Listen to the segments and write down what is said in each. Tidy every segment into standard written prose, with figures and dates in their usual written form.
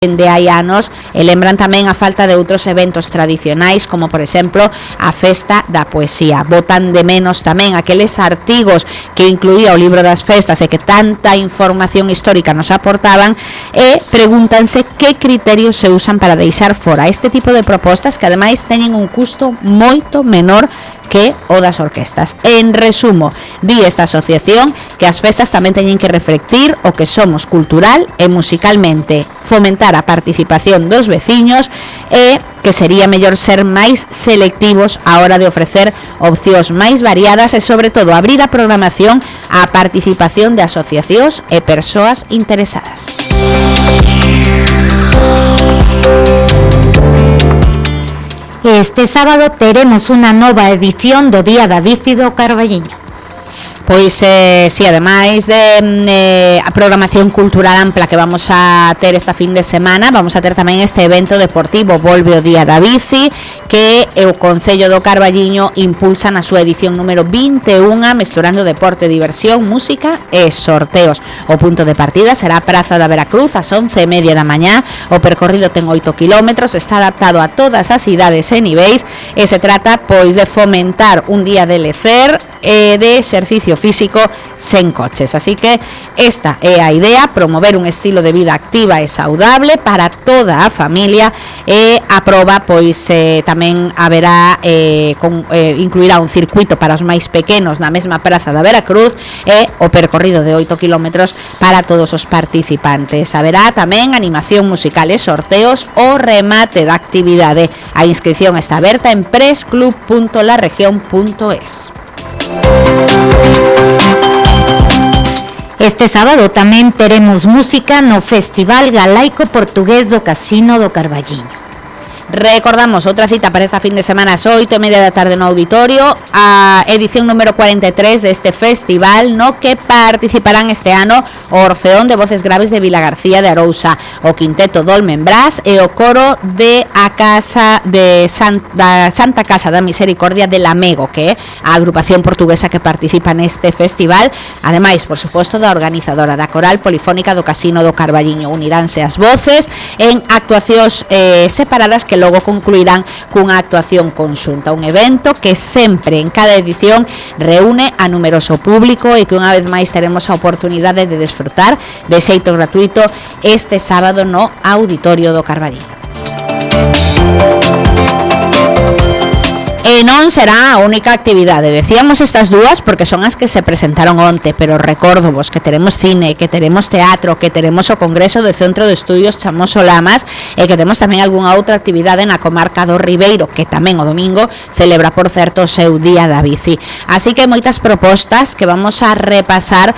de hai anos e lembran tamén a falta de outros eventos tradicionais como por exemplo a Festa da Poesía. Botan de menos tamén aqueles artigos que incluía o libro das festas e que tanta información histórica nos aportaban e pregúntanse que criterios se usan para deixar fora este tipo de propostas que ademais teñen un custo moito menor que o das orquestas. En resumo, di esta asociación que as festas tamén teñen que reflectir o que somos cultural e musicalmente, fomentar a participación dos veciños e que sería mellor ser máis selectivos á hora de ofrecer opcións máis variadas e sobre todo abrir a programación á participación de asociacións e persoas interesadas. Este sábado teremos unha nova edición do Día da Bici do Carballiño. Pois, si, ademais de a programación cultural ampla que vamos a ter esta fin de semana, vamos a ter tamén este evento deportivo Volve o Día da Bici, que o Concello do Carballiño impulsa na súa edición número 21, mesturando deporte, diversión, música e sorteos. O punto de partida será a Praza da Veracruz ás 11:30 da mañá. O percorrido ten 8 kilómetros, está adaptado a todas as idades e niveis e se trata pois de fomentar un día de lecer e de exercicio físico sen coches. Así que esta é a idea, promover un estilo de vida activa e saudable para toda a familia e a proba pois tamén haberá incluirá un circuito para os máis pequenos na mesma Praza da Veracruz e o percorrido de 8 kilómetros para todos os participantes. Haberá tamén animación musical e sorteos o remate da actividade. A inscripción está aberta en pressclub.laregion.es. Este sábado tamén teremos música no Festival Galaico Portugués do Casino do Carballiño. Recordamos outra cita para esta fin de semana ás 8:30 da tarde no auditorio, a edición número 43 deste festival, no que participarán este ano o Orfeón de Voces Graves de Vilagarcía de Arousa, o Quinteto Dolmen Brás e o coro de a Casa de Santa Casa da Misericordia de Lamego, que é a agrupación portuguesa que participa neste festival, ademais, por suposto, da organizadora da Coral Polifónica do Casino do Carballiño. Uniránse as voces en actuacións separadas que logo concluirán cunha actuación conxunta, un evento que sempre en cada edición reúne a numeroso público e que unha vez máis teremos a oportunidade de desfrutar de xeito gratuito este sábado no Auditorio do Carballiño. E non será a única actividade. Decíamos estas dúas porque son as que se presentaron onte, pero recordo vos que teremos cine, que teremos teatro, que teremos o Congreso do Centro de Estudios Chamoso Lamas e que temos tamén algunha outra actividade na comarca do Ribeiro, que tamén o domingo celebra, por certo, o seu Día da Bici. Así que moitas propostas que vamos a repasar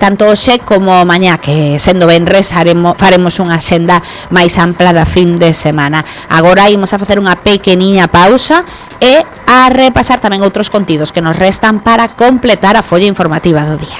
tanto hoxe como mañá, que sendo venres faremos unha xenda máis ampla da fin de semana. Agora imos a facer unha pequeniña pausa e a repasar tamén outros contidos que nos restan para completar a folla informativa do día.